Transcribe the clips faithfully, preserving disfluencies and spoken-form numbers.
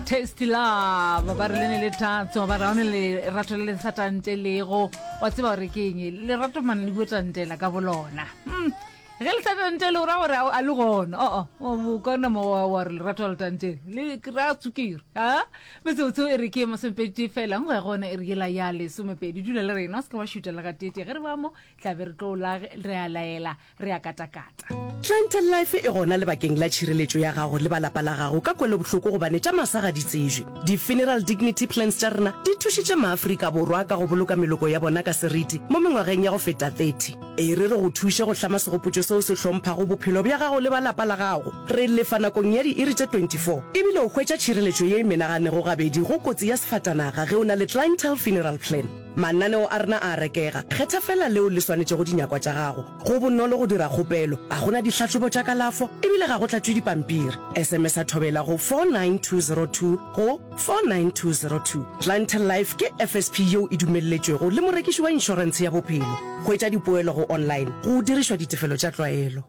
Tasty Love ba re le ne le tatso ba re one lerato le le sa tantelego wa tseba gore ke eng lerato mane le bua tantela ka bolona mm. ge le sa tantele o ra gore a le gona oo o kana mo wa wa re lerato le tantele le ra tsukiri a metsotso e re ke masomepedi fela nngwe ya gona e re yela ya lesomepedi dula le rena o se ke wa šuta le gatete ge re ba mo tla be re tlo la re a laela re a katakata. Clientele Life e gona lebakeng la tšhireletšo ya gago le ba lapa la gago ka kwelobohloko gobane tša masa ga di tsebje. Di-funeral dignity plans tša rena di thušitše maAfrika Borwa ka go boloka meloko ya bona ka seriti mo mengwageng ya go feta thirty. E re re go thuše go hlama segopotšo seo se hlomphago bophelo bja gago le ba lapa la gago. Re lefa nakong ya diiri tše twenty four ebile o hwetša tšhireletšo ye e menaganego gabedi go kotsi ya sefatanaga ge o na le Clientele Funeral Plan. Mananeo a rena a a rekega, kgetha feela leo le swanetšego dinyakwa tša gago. Go bonolo go dira kgopelo, ga go na dihlahlobo tša kalafo ebile ga go tlatšwe dipampiri. S M S a Thobela go four nine two zero two go four nine two zero two. Clientele Life ke F S P yeo e dumelletšwego le morekiši wa inšorentshe ya bophelo. Hwetša dipoelo go online go dirišwa ditefelo tša tlwaelo.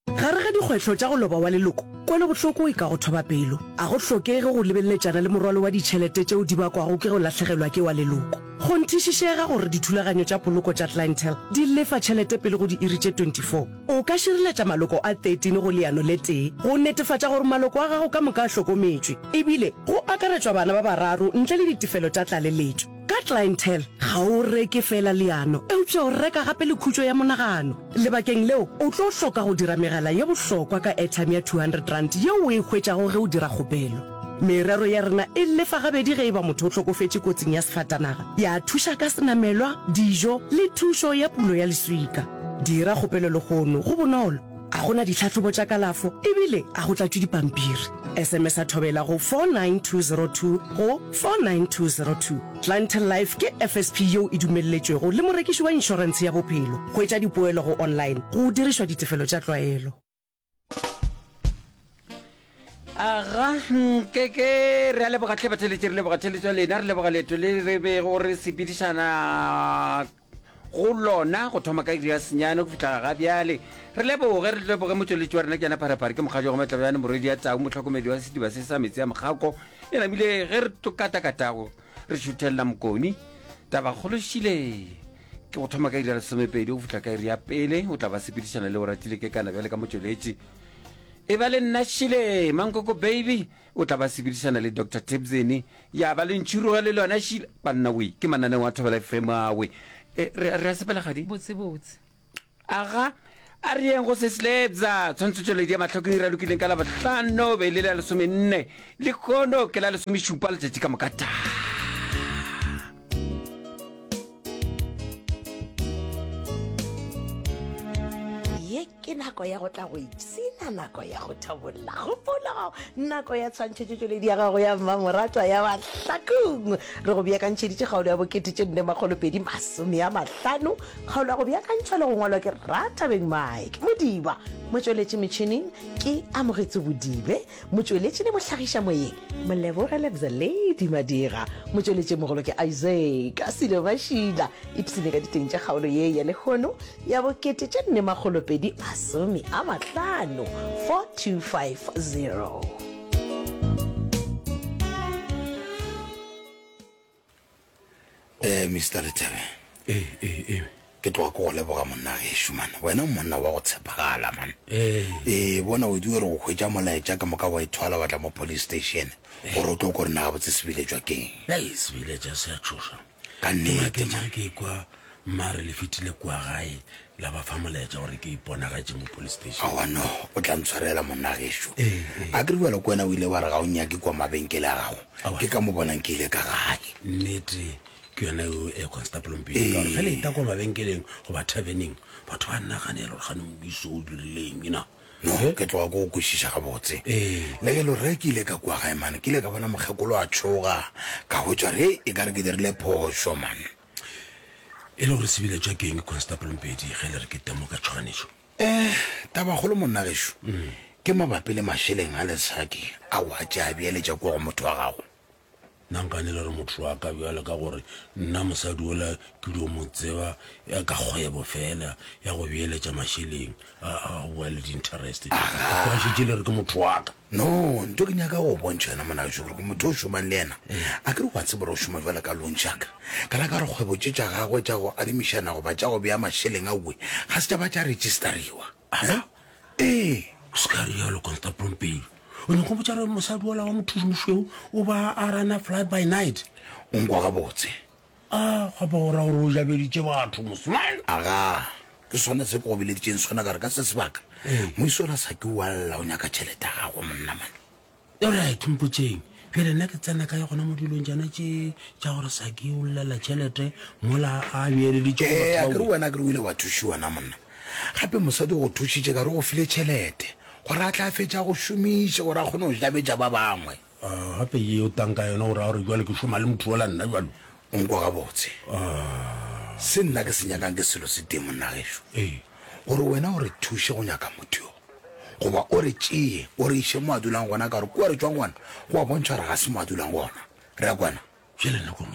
Gare ga dikgwetlho tša go loba wa leloko, kwelobohloko e ka go thoba pelo. A go hlokege go lebeleletšana le morwalo wa ditšhelete tšeo di bakwago ke go lahlegelwa ke wa leloko. Kgonthišišega gore dithulaganyo tša poloko tša Clientele di lefa tšhelete pele go diiri tše twenty four. O ka šireletša maloko a thirteen go leano le tee go netefatša gore maloko a gago ka moka a hlokometšwe, ebile go akaretšwa bana ba bararo ntle le ditefelo tša tlaleletšo. Ka Clientele, ga o reke feela leano, eupša o reka gape le khutšo ya monagano. Lebakeng leo, o tlo hloka go dira megala ye bohlokwa ka airtime ya two hundred rand yeo o e hwetšago ge o dira kgopelo. Merero ya rena e lefa gabedi ge e ba motho o hlokofetše kotsing ya sefatanaga, ya thuša ka senamelwa, dijo le thušo ya pulo ya leswika. Dira kgopelo lehono, go bonolo, ga go na ditlhahlobo tša kalafo ebile ga go tlatšwe dipampiri. S M S a Thobela go four nine two zero two go four nine two zero two. Clientele Life ke F S P yeo e dumelletšwego le morekiši wa inšorentshe ya bophelo. Hwetša dipoelo go online go dirišwa ditefelo tša tlwaelo. Aga, nkeke re a leboga tlhe batheletši, re leboga theletšo ya lena, re leboga leeto le re bego re sepedišana go lona go thoma ka iri ya senyane go fihla ga bjale. Re leboge, re leboge motšweletši wa rena ke yena Pharephare, ke mokgadi wa go Matlabjane, morwedi ya tau, mohlokomedi wa sediba se sa metsi a mokgako. E namile ge re tlo katakatago re šuthelela mokoni. Tabakgolo šile ke go thoma ka iri ya lesomepedi go fihla ka iri ya pele, o tla ba sepedišana le o ratile ke kana bjale ka motšweletši. E ba le nna šile Mankoko Baby, o tla ba sepedišana le Doctor Tebzeni, ya ba le ntšhiruga le lona šile. Banna we, ke mananeo a Thobela F M awe. E, re, re a sepela gadi? Botse botse. Aga, a re yeng go se slebza. Tshwantsho tšweledi ya mahlokong e ralokileng ka Labohlano be e le la lesomenne. Lehono ke la lesomešupa letšatši ka moka ta. Ye ke nako ya go tla go ipshina, nako ya go thabolla kgopolo, nako ya tshwantšhetšo tšweledi ya gago ya mmamoratwa ya Mahlakong. Re go beakantšheditše kgaolo ya bokete tše nne makgolo pedi masome a mahlano. Kgaolo ya go beakantšhwa le go ngwalwa ke Rathabeng Mike Modiba. Motšweletši metšhineng ke Amogetse Bodibe. Motšweletši le mohlagiša moyeng Moleboge Lebza Lady Madira. Motšweletši mogolo ke Isaac Silo Mašila. Ipshine ka diteng tša kgaolo ye ya lehono ya bokete tše nne makgolo pedi masome a mahlano, four two five zero. Eh, Mister Lethebe. Ee, ee, ee. Ke tloga ke go leboga monna gešo man. Wena o monna wa go tshepagala man. Ee. Ee, bona o di re go hwetša molaetša ka moka wa ithwala wa tla mo police station gore o tlo ko rena gabotse sebiletšwa keng. Hei, sebiletša se a tšhoša. Ka Ke nnete maketše man. ge ke ekwa mma re le fetile kua gae la ba fa molaetša gore ke iponagatše mo police station. Aowa no, o tla ntshwarela monna gešo. Ee, ee. A ke re bjalo ke wena o ile wa re ga o nyake kua mabenkele a gago. Aowa. Ke ka mo bonang ke ile ka gae. Nnete ke yona eo e Constable Mpedi, ka gore ge le eta kua mabenkeleng goba taverneng batho ba naganela gore gane moiso o dirileng na. No, ke tloga ke go kwešiša gabotse. Ee. Le ge e le gore ge ke ile ka kua gae mane, ke ile ka bona mokgekolo a tšhoga, ka hwetša gore hei, e ka re ke dirile phošo man. E le gore sebiletšwa ke eng Constable Mpedi ge le re ke temo ka tšhoganetšo? Eh, tabakgolo monna gešo, ke mabapi le mašeleng a Lesaki ao a tše a beeletša kua go motho wa gago. Nna nkane le re motho wa ka bjale ka gore nna mosadi ola ke dio mo tseba ya ka kgwebo fela ya go beeletša mašeleng a a go boa le di-interest. Kwa šetše le re ke motho wa ka. No, nto ke nyaka go bontšha yona mona gešo gore ke motho o šomang le yena. A ke re wa tseba gore o šoma bjalo ka loan shark. Ka la ka gore kgwebo tše tša gagwe tša go adimišana goba tša go bea mašeleng aowe ga se tša ba tša registariwa. Aha. Ee. O se ka rialo, Constable Mpedi. O nyaka go botša gore mosadi ola wa mothuši mošweu o ba a rana fly by night? O nkwa gabotse. A, gape o ra gore o jabeditše batho, mosmane? Aga, ke sona se ke go bileditšeng sona ka re ka se sebaka moisa ola sa ke o a lla o nyaka tšhelete ya gagwe monna man. Alright, mpotšeng bjale nna ke tsena kae gona mo dilong tšana tše tša gore Saki o llela tšhelete mola a beeleditše go Ee, batho a ba ke re wena a ke re o ile wa thušiwa na monna? Gape mosadi o go thušitše ka re o go file tšhelete gore a tla a fetša go šomiše gore a kgone go jabetša ba bangwe. Ah, gape ye o tang ka yona o ra gore bjale ke šoma le motho ola nna bjalo? O nkwa gabotse. Se nna ke se nyakang ke selo se tee monna gešo, Ee. gore wena o re thuše go nyaka motho yo, goba o re tšee o re iše mo a dulang gona, ka gore kua re tšwang gona go a bontšha gore ga se mo a dulang gona. Re a kwana? Bjale nna ko mo